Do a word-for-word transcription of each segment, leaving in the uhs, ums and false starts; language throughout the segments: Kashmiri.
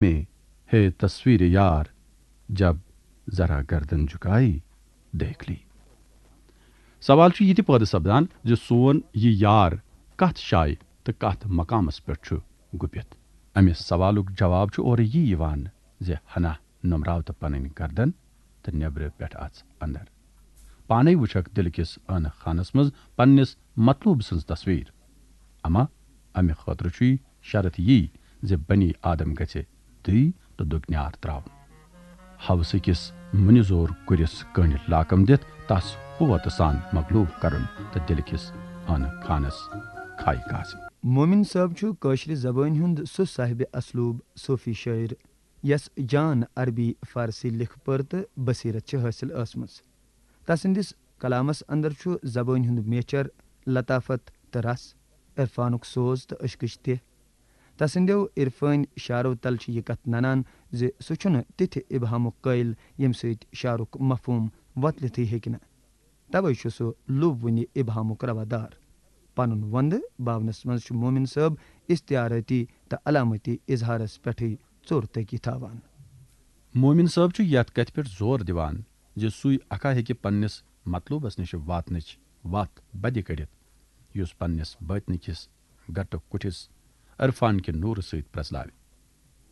میں ہے تصویر یار، جب ذرا گردن جھکائی دیکھ لی۔ سوال چھُ یہِ تہِ پٲدٕ سپدان زِ سون یہِ یار کتھ جایہِ تہٕ کتھ مقامس پٮ۪ٹھ چھُ گُپِتھ؟ امہِ سوالُک جواب چھُ اورٕ یی یِوان زِ ہنا نُمراو تہٕ پنٕنۍ گردن تہٕ نیبرٕ پٮ۪ٹھ اژ اندر۔ پانے وٕچھکھ دِلہٕ کِس ٲنہٕ خانس منٛز پننِس مطلوب سٕنٛز تصویر۔ اما امہِ خٲطرٕ چھُے شرط یی زِ بنی آدم گژھِ دٕے تہٕ دُگنیار تراوُن۔ ہوسہٕ کِس مُنہِ زور کُرِس کٔنڈۍ لاکم دِتھ تس قوت سان مغلوب کرُن تہٕ دِلہٕ کِس ٲنہٕ خانس کھاے کاسٕنۍ۔ مومن صٲب چھُ کٲشرِ زبٲنۍ ہُنٛد سُہ صاحبِ اسلوب صوفی شٲعر، یس جان عربی فارسی لیکھہٕ پٔر تہٕ بصیرت چھِ حٲصِل ٲسمٕژ۔ تسٕنٛدِس کلامس اندر چھُ زبٲنۍ ہُنٛد میچھر، لطافت تہٕ رس، عرفانُک سوز تہٕ عشقٕچ تہِ۔ تسٕنٛدیو عرفٲنۍ شعرو تل چھِ یہِ کتھ ننان زِ سُہ چھُنہٕ تِتھِ ابہامُک قٲیل ییٚمہِ سۭتۍ شعرُک مفہوم وۄتلِتھٕے ہیٚکہِ نہٕ۔ توے چھُ سُہ لُو وُنہِ ابہامُک روادار۔ پنُن وندٕ باونس منٛز چھُ مومن صٲب استعارٲتی تہٕ علامتی اظہارس پٮ۪ٹھٕے ژوٚر تٲقی تھاوان۔ مومن صٲب چھُ یتھ کتھِ پٮ۪ٹھ زور دِوان زِ سُے اکھا ہیٚکہِ پننِس مطلوبس نِش واتنٕچ وتھ بدِ کٔڑِتھ، یُس پننِس بٲطنہٕ کِس گٹہٕ کُٹھِس عرفان کہِ نوٗرٕ سۭتۍ پرٛزلاوِ۔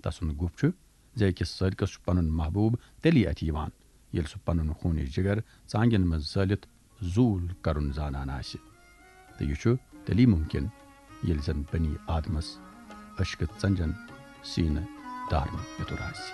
تسُنٛد گُپھ چھُ زِ أکِس سٲرکس چھُ پنُن محبوب تیٚلی اَتھِ یِوان، ییٚلہِ سُہ پنُن خوٗنہِ جگر ژانگٮ۪ن منٛز زٲلِتھ زوٗل کرُن زانان آسہِ۔ تہٕ یہِ چھُ تیٚلی مُمکِن، ییٚلہِ زن بنی آدمس عشقہٕ ژنجن سیٖنہٕ دارنُک پِتُر آسہِ۔